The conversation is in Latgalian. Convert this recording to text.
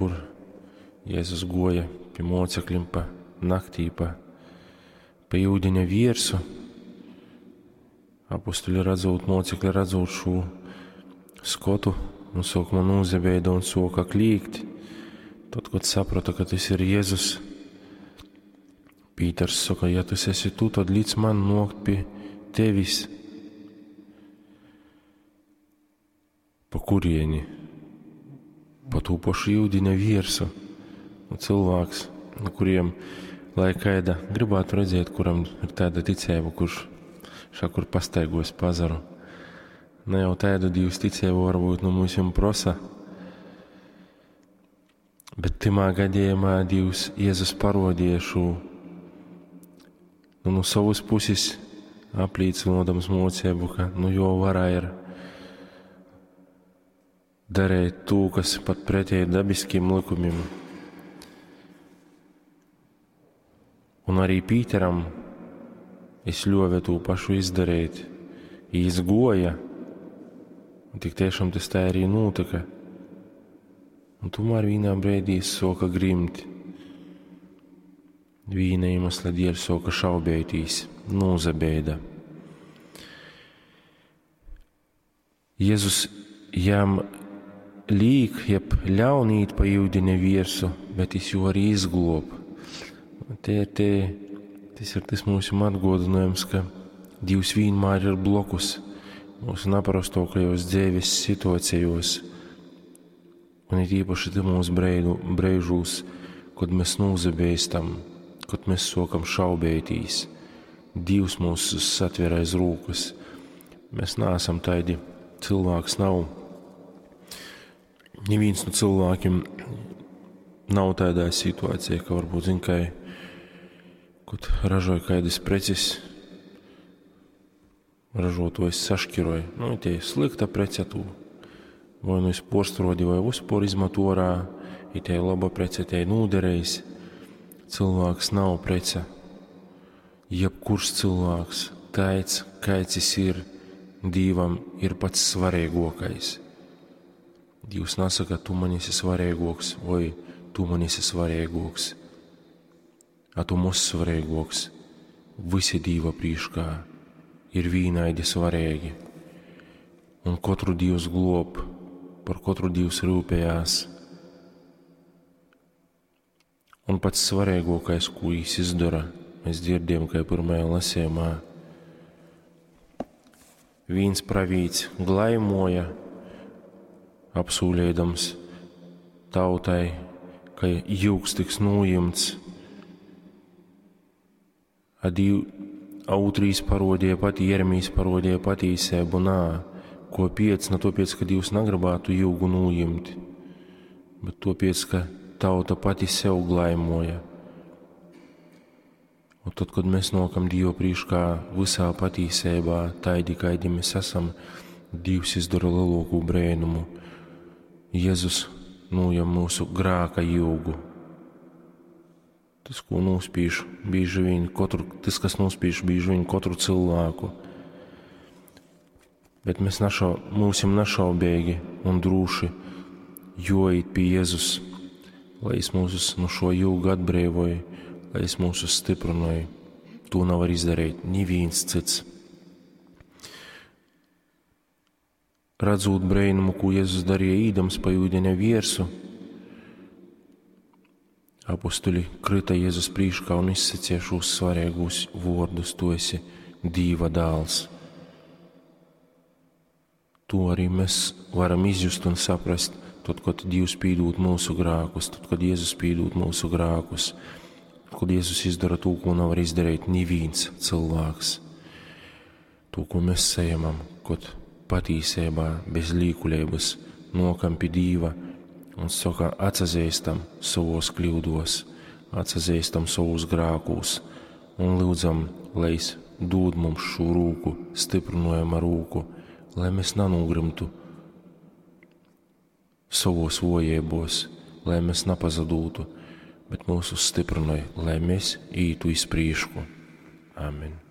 Kur Jēzus guoja pi moceklim pa naktī, pa iudiņa viersu. Apustuļi radzūt, mocekļi radzūt šū skotu, un sākumā nūzabeida un suoka klīgt. Tad, kad saprata, ka tas ir Jēzus, Pīters saka, ja tas esi tu, tad lic man nokt pie tevis. Pa kurieni? Pa tū pašu iudiņa viersu. Nu, cilvēks, nu, kuriem, lai kaida gribētu redzēt, kuram ir tāda ticība, kurš šakur pastaigos pa azaru. Ne jau tādu Dievs ticību varbūt nu mums prosa, bet timā gadījumā Dievs Jēzus parodīja šo nu, no savas puses aplīcinodams mocību, ka nu jo varā ir darīt to, kas pat pretēji dabiskiem likumiem. Un arī Pīteram es ļovu to pašu izdarīt. Izgoja, un tik tiešām tas tā arī notika. Un tomēr vienā brīdī es soka grimt. Vīna iemesla dēļ soka šaubētīs, nūzabeida. Jēzus jām līk, jeb ļaun īt pa iudiņa viersu, bet es jū arī izglob. Te, te, tas ir tas mūsu atgodinājums, ka Dievs vienmēr ir blokus mūsu naparastokajos dzīves situācijos, un it īpaši tymūs breižūs, kad mēs nūzabeistam, kad mēs sokam šaubētīs. Dievs mūs satver aiz rūkas. Mēs neesam taidi, cilvēks nav. Neviens no cilvēkiem nav tādā situācijā, ka varbūt, zin, kai, kad ražoja kādas preces, ražotājs sašķiroja. Nu, tie slikta prece tu vai nu iz porstrodi, vai uzpor izmet orā, ja tie laba prece, tie nūderējis. Cilvēks nav prece. Jebkurš cilvēks, taids, kāds jis ir, Dīvam ir pats svarīgākais. Dievs nesaka, tu man esi svarīgāks, vai tu man esi svarīgāks. A tu mos svarīgāks. Visi Dīva prīškā ir vīnaidi svarīgi. Un katru Dievs glob, par katru Dievs rūpējās. Un pats svarīgākais, ko viņš izdara, mēs dzirdējam, kā pirmajā lasījumā. Viens pravīts glaimoja, apsūlēdams tautai, ka jūgs tiks nojumts. A div, a otrīs parodīja pati, Jeremijs parodīja patīsēbu, nā, ko piec, ne topiec, ka Dievs nagribētu jūgu nojimt, bet topiec, ka tauta pati sev glaimoja. Un tad, kad mēs nokam Dievu priekšā visā patīsībā, taidi, kaidi mēs esam, Dievs izdara lielāko brēnumu. Jēzus nojam mūsu grāka jūgu. Tas, ko nospīž bieži vien katru, tas, kas nospīž bieži vien katru cilvēku. Bet mēs mūsim našaubīgi un drūši joīt pie Jēzus, lai es mūsus no šo jūgu atbrīvoju, lai es mūsus stiprināju. To nevar izdarīt neviens cits. Redzot brēnumu, ko Jēzus darīja īdams pa ūdeņa viersu, apustuļi krita Jēzus prīškā un izsacīja šos svarīgos vārdus: Tu esi Dīva dēls. To arī mēs varam izjust un saprast, tad, kad Dievs pīdūt mūsu grēkus, tad, kad Jēzus pīdūt mūsu grēkus, kad Jēzus izdara to, ko nevar izdarīt neviens cilvēks. To, ko mēs saņemam, kad patīsībā, bez līkuļības, nokam pie Dīva un saka, atsazīstam savos kļūdos, atsazīstam savos grēkos un lūdzam, lai es dod mums šo rūku, stiprinojama rūku, lai mēs nenogrimtu savos vojībos, lai mēs napazadūtu, bet mūs uzstiprināja, lai mēs ītu iz prīšku. Amen.